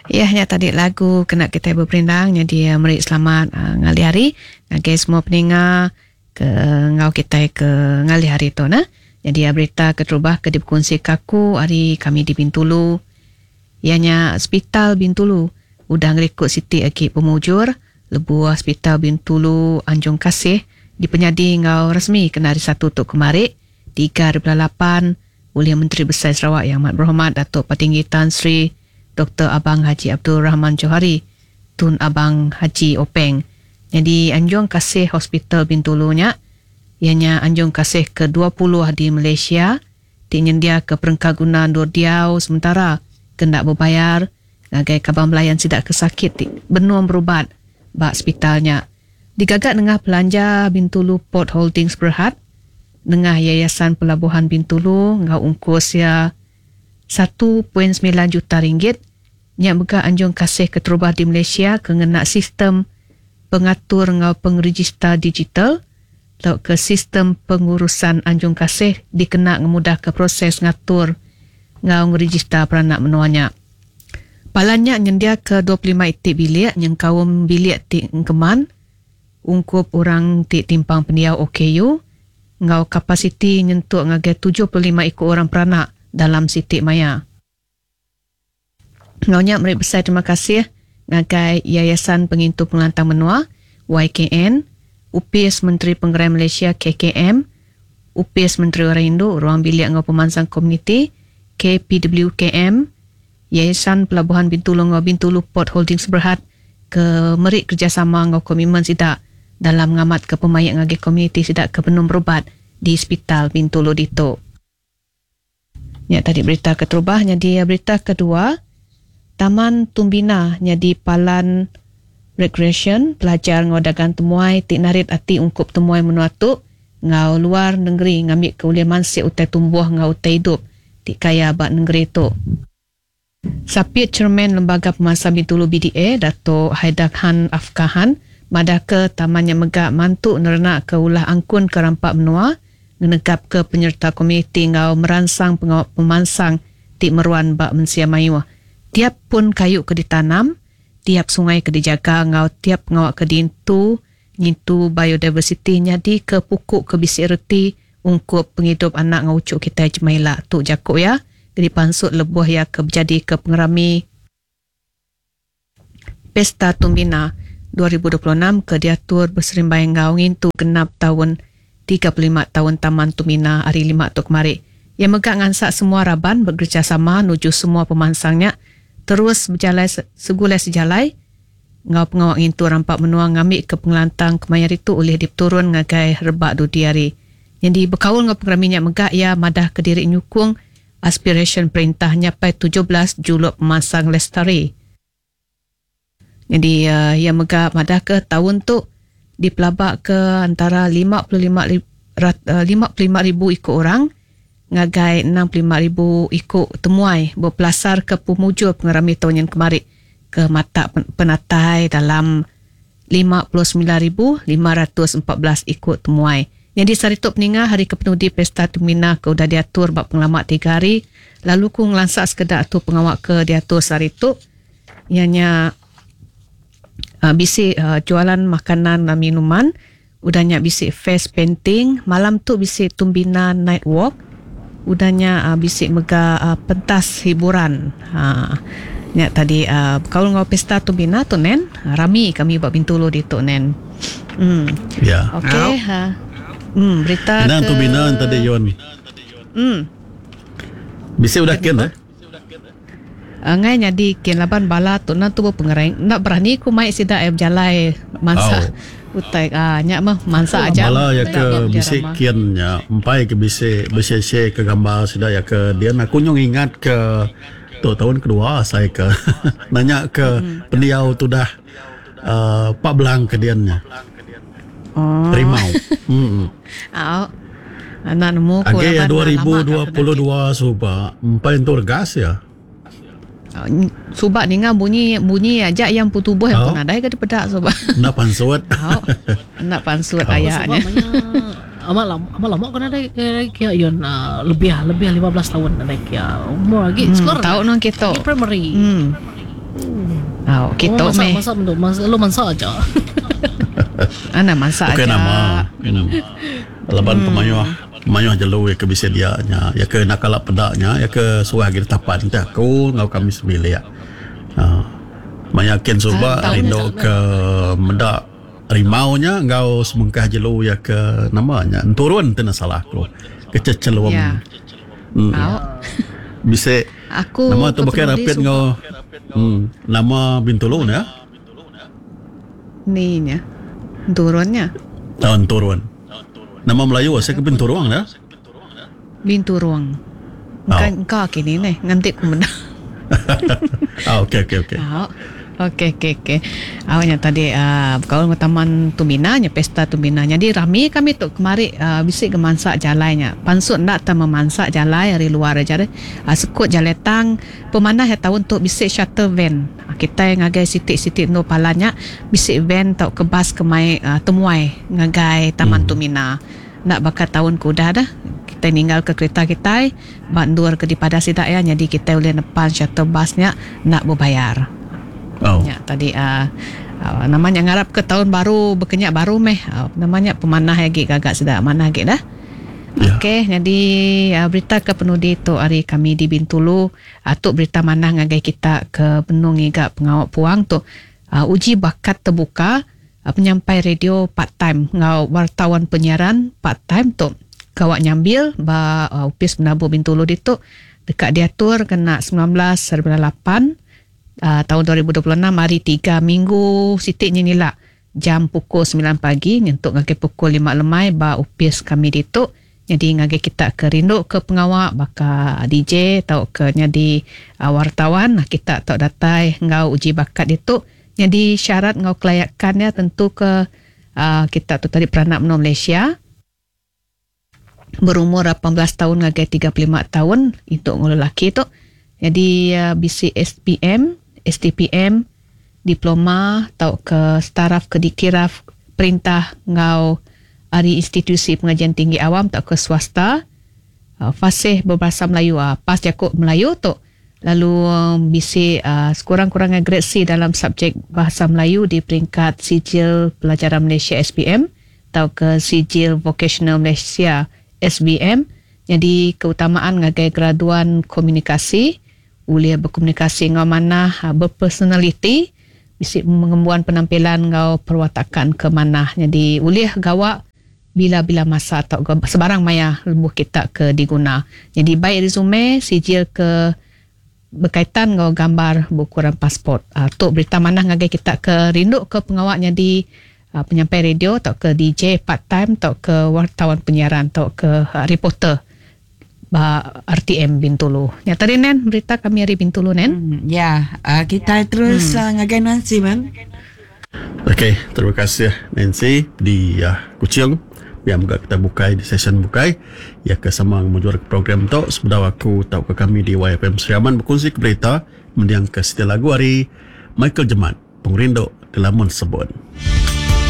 Ya nya tadi lagu kena kitai beperindang nyadi meri selamat ngalih hari ngagai semua peninga ke enggau kitai ke ngalih hari tu nah. Nyadi berita keterubah ke dipekunsi ka aku ari kami di Bintulu iya nya Sepital Bintulu udah ngerikut siti agi pemujur lebuh Sepital Bintulu Anjung Kasih dipenyadi enggau resmi kena hari Satu tu kemari 3.8 ulih Menteri Besai Sarawak Yang Amat Berhormat Datuk Patinggi Tan Sri Doktor Abang Haji Abdul Rahman Johari Tun Abang Haji Openg. Nyadi Anjung Kasih Hospital Bintulu nya iya nya Anjung Kasih ke 20 di Malaysia ti nyendiaka perengka guna endur diau sementara ke enda bebayar ngagai kaban belayan sida ke sakit ti benung berubat ba sepital nya. Digaga nengah pelanja Bintulu Port Holdings Berhad nengah Yayasan Pelabuhan Bintulu enggau ungkus iya 1.9 juta ringgit nya mega Anjung Kasih keterubah di Malaysia ke ngena sistem pengatur enggau pengerejista digital tauka sistem pengurusan Anjung Kasih dikena ngemudahka proses ngatur enggau ngerejista peranak menua nya. Palan nya nyendiaka 25 iti bilik nyengkaum bilik ti engkeman ungkup orang ti timpang pendiau OKU enggau kapasiti nyentuk ngagai 75 iku orang peranak dalam siti maya. Enggau nya meri besai terima kasih ngagai Yayasan Pengintu Pengelantang Menua, YKN, Opis Menteri Pengerai Malaysia, KKM, Opis Menteri Orang Indu, Ruang Bilik enggau Pemansang Komuniti, KPWKM, Yayasan Pelabuhan Bintulu enggau Bintulu Port Holdings Berhad ke meri kerejasama enggau komitmen sida dalam ngamatka pemaik ngagai komuniti sida ke benung berubat di Sepital Bintulu ditu. Nya tadi berita keterubah nyadi berita kedua, Taman Tumbina nyadi palan rekreasyen, pelajar enggau dagang temuai ti narit ati ungkup temuai menua tu enggau luar nengeri ngambika ulih mansik utai tumbuh enggau utai idup ti kaya ba nengeri tu. Sapit Chairman Lembaga Pemansang Bintulu BDA, Dato Haidar Khan Afkahan madahka taman nya mega mantu nerenakka ulah angkun ke rampa menua, ngenegapka penyereta komuniti enggau meransang pengawa pemansang ti meruan ba mensia mayuh. Tiap pun kayu ke ditanam, tiap sungai ke dijaga enggau tiap pengawa ke diintu ngintu biodiversiti nyadika puku ke bisi reti ungkup pengidup anak enggau uchu kitai jemah ila, tu jaku iya ke dipansut lebuh iya ke bejadika pengerami Pesta Tumbina 2026 ke diatur beserimbai enggau ngintu genap taun 35 taun Taman Tumbina hari Lima tu kemari. Iya mega ngansak semua raban bekerejasama nuju semua pemansang nya terus bejalai segulai sejalai enggau pengawa ngintu rampa menua ngambika pengelantang kemaya ditu ulih dipeturun ngagai rebak dudi hari. Nyadi bekaul enggau pengerami nya mega iya madahka diri nyukung aspirasyen perintah nyapai 17 juluk pemansang lestari. Nyadi iya mega madahka taun tu dipelabaka antara 55 ribu iku orang ngagai 65 ribu iku temuai bepelasarka pemujur pengerami taun nyin kemari ke matak penatai dalam 59,514 iku temuai. Nyadi sehari tu peninga hari ke penudi Pesta Tumina ke udah diatur ba pengelama 3 hari lalu ku ngelansa sekeda tu pengawa ke diatur sehari tu iya nya bisi jualan makanan dan minuman, udah nya bisi face painting, malam tu bisi Tumbina Night Walk, udah nya bisi mega pentas hiburan. Nya tadi bekaul enggau Pesta Tumbina tu nen, rami kami ba Bintulu ditu nen. Ya. Okey. Berita ke Tumbina tadi Yon. Bisi udah kin eh? Angai nyadi kin laban bala tu nan tubuh pengereng enda berani ku mai sida iya bejalai mansa utai nya meh mansa aja. Bala iya ke bisi kin nya empai ke bisi bisi-share ke gambar sida iya ke din aku nyau ngingat ke tu taun kedua asai ke nanya ke pendiau tudah uhh pak belang ke din nya. Rimau. Emm. Enda nemu ku Agi 2022 suba empai entu regas iya. Suba ninga bunyi bunyi aja iya empu tubuh iya pun nadai ga dipeda suba. Enda pansut. Enda pansut aya nya. Amat lama amat lama ko nadai kia yun lebih lebih 15 taun nadai kia umur agi sekolah. Tau nang kitu. Primary. Au, kitu oh, meh. Masa masa masa lu mansa aja. Ana mansa Bukan aja. nama, bukan nama. Laban pemayuh pemayuh jelu ya ke bisi dia nya, ya ke nak kala peda nya, ya ke suah agi ditapan ti aku enggau kami sebilik. Ha. Maya kin suba Ah, tahu rindu nya, ke meda rimau nya enggau sebengkah jelu ya ke nama nya enturun ti enda salah aku. Kececelung. Ya. Hmm. Au. Bisi Aku nama tu ke bukan penudi rapit suba enggau nama Bintulu ne ya. Ni nya. Turunnya. Oh, enturun. Nama Melayu saya ke Binturung dah. Binturung. Oh. Engka engka kini neh nganti ku meda. Ah, okey okey okey. Au. Okey okey okey. Awaknya tadi bekaul dengan Taman Tumbina nya Pesta Tumbina. Jadi rami kami tu kemari bisi ke mansa jalai nya. Pansut ndak ta memansa jalai ari luar aja deh. Sekut jalai tang pemanah ya taun tu bisi shuttle van. Kita ngagai siti-siti endur palan nya bisi van tau ke bas ke mai temuai ngagai Taman Tumbina. Ndak baka taun ke udah dah. Kita ninggal ke kereta kita ba endur ke dipadah sida ya jadi kita boleh nepan shuttle bus nya ndak berbayar. Oh. Ya, tadi namanya ngarap ke tahun baru berkenyak baru meh. Namanya pemanah lagi gagak sedap manah lagi dah. Ya. Okey, jadi berita ke penudi tu hari kami di Bintulu tu berita manah ngagai kita ke benung ngiga pengawak puang tu uji bakat terbuka penyampai radio part time ngau wartawan penyiaran part time tu kawak nyambil ba upis menabur Bintulu ditu dekat diatur kena 19.8 tahun 2026 hari 3 minggu sitik nyinila jam pukul 9 pagi nyentuk ngagai pukul 5 lemai ba upis kami ditu. Jadi ngagai kita ke rindu ke pengawak baka DJ atau ke jadi wartawan kita tau datai ngau uji bakat ditu. Jadi syarat ngau kelayakannya tentu ke kita tu tadi peranak menua Malaysia berumur 18 tahun ngagai 35 tahun untuk ngau lelaki tu. Jadi BC SPM, STPM, diploma atau ke staraf ke dikiraf perintah ngau ari institusi pengajian tinggi awam atau ke swasta, fasih berbahasa Melayu, pas jakuk Melayu tu. Lalu BC sekurang-kurangnya grade C dalam subjek bahasa Melayu di peringkat sijil pelajaran Malaysia SPM atau ke sijil vocational Malaysia SBM. Jadi keutamaan ngagai graduan komunikasi, boleh berkomunikasi ngau manah, berpersonaliti, bisi mengembuan penampilan ngau perwatakan ke manah. Jadi boleh gawak bila-bila masa atau sebarang maya lebuh kita ke diguna. Jadi baik resume, sijil ke berkaitan ngau gambar bukuran pasport. Tu berita manah ngagai kita ke rindu ke pengawaknya di penyampai radio atau ke DJ part time atau ke wartawan penyiaran atau ke reporter ba RTM Bintulu. Ya tadi Nen, berita kami hari Bintulu Nen. Ya, kita terus ngagai Nancy man. Okey, terima kasih Nancy di Kuching. Biar moga kita bukai di session bukai. Ya ke sama memujuar ke program tu sebedau aku tahu ke kami di YFM Sri Aman berkongsi ke berita mendiang ke setia lagu hari Michael Jemat Pengerindu Delamun Sebun.